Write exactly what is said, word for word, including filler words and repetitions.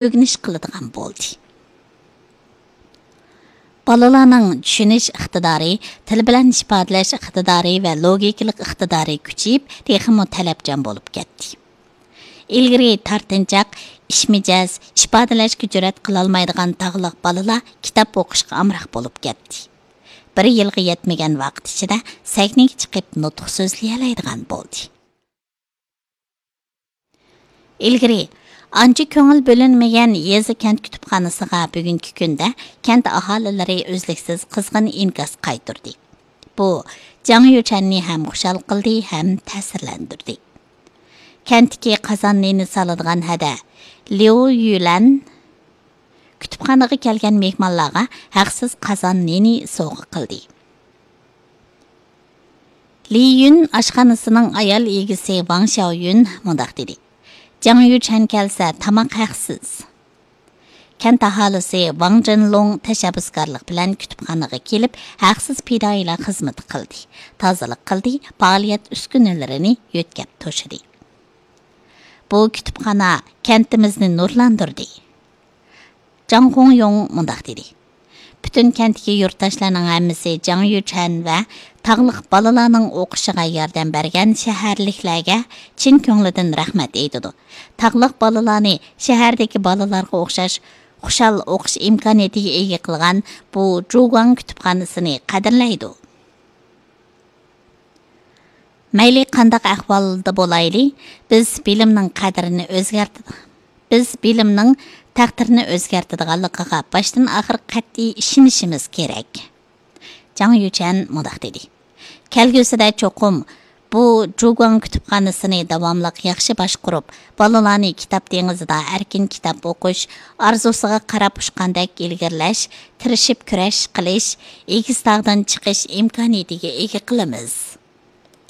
ئۆگىنىش قىلىدىغان بولدى. بالىلارنىڭ چۈشىنىش ئىقتىدارى، تىل بىلەن ئىپادىلەش ئىقتىدارى ۋە لوگىكىلىق ئىقتىدارى كۈچىيىپ، تېخىمۇ تەلەپچان بولۇپ كەتتى. ئىلگىرى تارتىنچاق، ئىچ مىجەز، ئىپادىلەشكە جۈرئەت قىلالمايدىغان تاغلىق بالىلار كىتاب ئوقۇشقا ئامراق بولۇپ كەتتى. بىر يىلغا يەتمىگەن ۋاقىت ئىچىدە سەھنىگە چىقىپ نۇتۇق سۆزلىيەلەيدىغان بولدى. ئىلگىرى ئانچە كۆڭۈل بۆلۈنمىگەن يېزا كەنت كۇتۇپخانىسىغا بۈگۈنكى كۈندە كەنت ئاھالىلىرى ئۈزلۈكسىز قىزغىن ئىنكاس قايتۇردى. بۇ جاڭ يۈچەننى ھەم خۇشال قىلدى، ھەم تەسىرلەندۈردى. كەنتتىكى قازان نېنى سالىدىغان ھەدە ليۇ يۈلەن كۇتۇپخانىغا كەلگەن مېھمانلارغا ھەقسىز قازان نېنى سوۋغا قىلدى. لى يۈن ئاشخانىسىنىڭ ئايال ئىگىسى ۋاڭ شياۋيۈن مۇنداق دېدى: «جاڭ يۈچەن كەلسە، تاماق ھەقسىز.» كەنت ئاھالىسى ۋاڭ جىنلۇڭ تەشەببۇسكارلىق بىلەن كۇتۇپخانىغا كېلىپ، ھەقسىز پىدائىيلار خىزمىتى قىلدى، تازىلىق قىلدى، پائالىيەت ئۈسكۈنىلىرىنى يۆتكەپ توشىدى. بۇ كۇتۇپخانا كەنتىمىزنى نۇرلاندۇردى. جاڭ خۇڭيۇڭ مۇنداق دېدى: «پۈتۈن كەنتتىكى يۇرتداشلارنىڭ ھەممىسى جاڭ يۈچەن ۋە تاغلىق بالىلارنىڭ ئوقۇشىغا ياردەم بەرگەن شەھەرلىكلەرگە چىن كۆڭلىدىن رەھمەت ئېيتىدۇ. تاغلىق بالىلارنى شەھەردىكى بالىلارغا ئوخشاش خۇشال ئوقۇش ئىمكانىيىتىگە ئىگە قىلغان بۇ جۇگۇاڭ كۇتۇپخانىسىنى قەدىرلەيدۇ.» مەيلى قانداق ئەھۋالدا بولايلى، بىز بىلىمنىڭ قەدرىنى ئۆزگەرت-، بىز بىلىمنىڭ تەقدىرىنى ئۆزگەرتىدىغانلىقىغا باشتىن ئاخىر قەتئىي ئىشىنىشىمىز كېرەك. جاڭ يۈچەن مۇنداق دېدى: «كەلگۈسىدە چوقۇم بۇ جۇگۇاڭ كۇتۇپخانىسىنى داۋاملىق ياخشى باشقۇرۇپ، بالىلارنى كىتاب دېڭىزىدا ئەركىن كىتاب ئوقۇش ئارزۇسىغا قاراپ ئۇچقاندەك ئىلگىرىلەش، تىرىشىپ كۈرەش قىلىش، ئېگىز تاغدىن چىقىش ئىمكانىيىتىگە ئىگە قىلىمىز.»